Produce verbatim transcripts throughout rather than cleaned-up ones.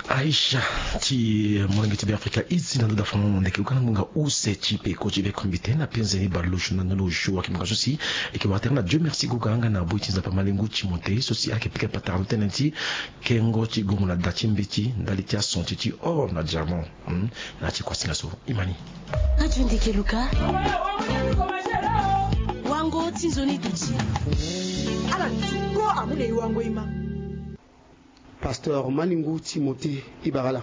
Aisha ti molenge ti Be Afrika, iti na ndo da fango ndeke luka na ngbonga use ti peko ti be kombi te na penze ni balo shu na ndo lo shu waki ngbonga so si e ke wara tere na Dieu merci goga nga na boi ti Nzapa malingu ti mo te so si ayeke pika patara na tënë ti kengo ti gongo na da ti mbeti ndali ti asonti ti or na diamant. Hmm, na ti kuasinga so imani. Radio ndeke luka. Wango ti nzoni duti. Ala ti ko amu na e wango ima. Pasteur Malingu Timothée Ibarala.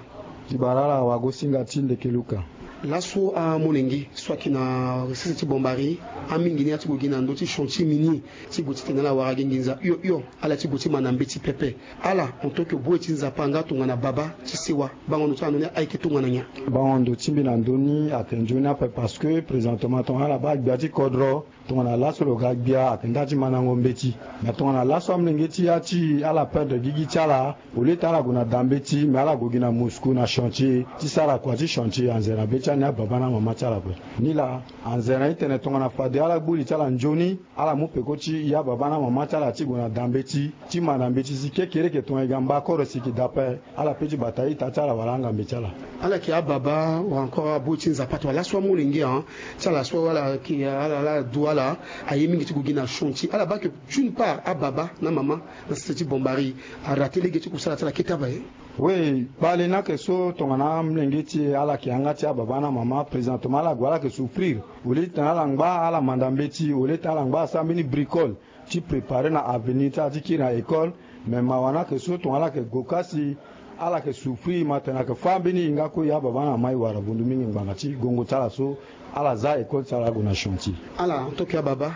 Ibarala wagosinga ti ndeke luka. Laso amolenge so ayeke na sese ti Bombari, amingi ni ati gue gi na ndö ti chantier minier ti gue titene ala wara gi nginza hio hio, ala ti gue ti ma na mbeti pepe. Ala en tant que bue ti Nzapa nga tongana baba ti sewa, bango ndo ti ala ndo ni ayeke tongana nyen? Bango ndo ti mbi na ndö ni ayeke nzoni ape parce que présentement tongana ala baa gbia ti kodro, tongana laso lo ga gbia ayeke nda ti mandango mbeti. Me tongana laso amolenge ti ya ti ala perdre gigi ti ala, au lieu ti ala gue na da mbeti me ala gue gi na Moscou na chantier ti sara kua ti chantier anzere na be ti ani ababa na amama ti ala ape. Nilaa anzere na e tene tongana fade ala gbu li ti ala nzoni, ala mu peko ti ya baba na amama ti ala ti gue na da mbeti ti ma na mbeti si kekereke tongana e ga mba koro si e ke da ape. Ala pe ti bata ita ti ala wala angambe ti ala. Ala yeke ababa wala encore aboi ti Nzapa to wala laso amolenge an ti ala so ala yeke ala ala du ala aye mingi ti gue gi na chantier. Ala baa ke d'une part ababa na mama na sese ti Bombari arate lege ti kusala ti ala kete ape. Oui, kpale ni ayeke so tongana amolenge ti e ala yeke yanga ti ababa na mama présentement ala gue ala yeke souffrir. Au lieu titene ala ngba ala manda mbeti, au lieu titene ala ngba asara mbeni bricole ti préparer na avenir ti ala ti kiri na école. Me mawa ni ayeke so tongana ala yeke gue ka si ala yeke souffrir ma tene ayeke fâ mbeni hinga kue ya baba na mama e wara vundu mingi ngbanga ti gongo ti ala so ala za école ti ala ague na chantier. Ala en tant que ababa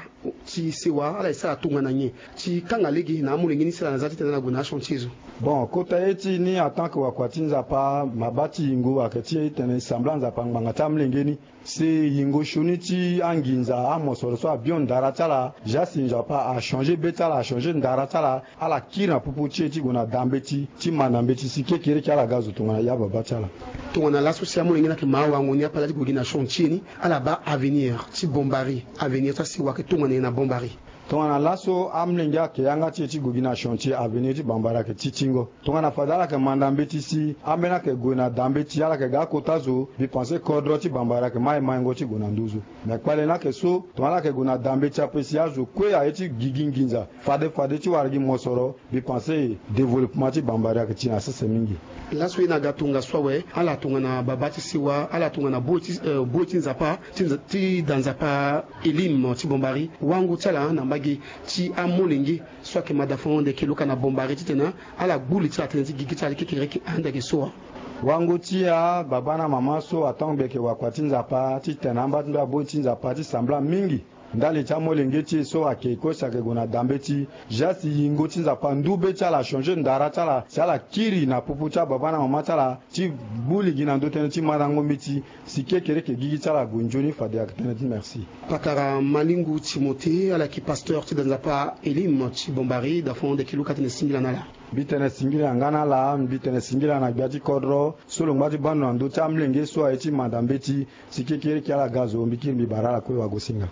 ti sewa ala e sara tongana nyen ti kanga lege na amolenge ni si ala na za titene ala gue na achantier so? Bon, kota ye ti e ni en tant que wakua ti Nzapa, mabâ ti yingo ayeke ti e titene e sambela Nzapa ngbanga ti amolenge ni. Si yingo sioni ti anginza amosoro so abio ndara ti ala, ja si Nzapa achanger be ti ala, achanger ndara ti ala, ala kiri na popo ti e ti gue na da mbeti ti ma na mbeti si kekereke ala ga zo tongana ya baba ti ala. Tongana laso si amolenge ni ayeke ma awango ni ape ala ti gue gi na chantier ni, ala baa avenir ti Bombari, avenir ti asewa ayeke tongana nyen na Bombari? Tongana laso amolenge ayeke yanga ti e ti gue gi na chantier, avenir ti Bombari ayeke ti tingo. Tongana fade ala yeke manda mbeti si ambeni ayeke gue na da mbeti ala yeke ga akota zo, mbi pense kodro ti Bombari ayeke ma e maingo ti gue na nduzu. Me kpale ni ayeke so tongana ala yeke gue na da mbeti ape si azo kue aye ti gigi nginza fade fade ti wara gi mosoro, mbi pense développement ti Bombari ayeke ti na sese mingi. Laso e na ga tongaso awe, ala tongana baba ti sewa, ala tongana boi ti eh, boi ti Nzapa ti Nza- ti da Nzapa Elim ti Bombari, wango ti ala na mbage ti amolenge so ayeke madafango ndeke luka na Bombari titene ala gbu li ti ala tënë ti gigi ti ala ti kekereke ande ayeke so wa. Wango ti ababa na mama so atango mbi yeke wakua ti Nzapa titene amba ti mbi aboi ti Nzapa ti sambela mingi ndali ti amolenge ti e so ayeke kosi ayeke gue na da mbeti. Ja si yingo ti Nzapa ndu be ti ala achanger ndara ti ala si ala kiri na popo ti ababa na mama ti ala ti gbu li gi na ndö tënë ti mandango mbeti si kekereke gigi ti ala ague nzoni fade ayeke tënë ti merci. Patara Malingu Timothée ala yeke pasteur ti da Nzapa Elim ti Bombari, dafango ndeke luka tene singila na ala. Mbi tene singila nga na ala, mbi tene singila na gbia ti kodro so lo ngba ti baa ndo na ndö ti amolenge so aye ti manda mbeti si kekereke ala ga zo, mbi kiri mbi bara ala kue wagosinga.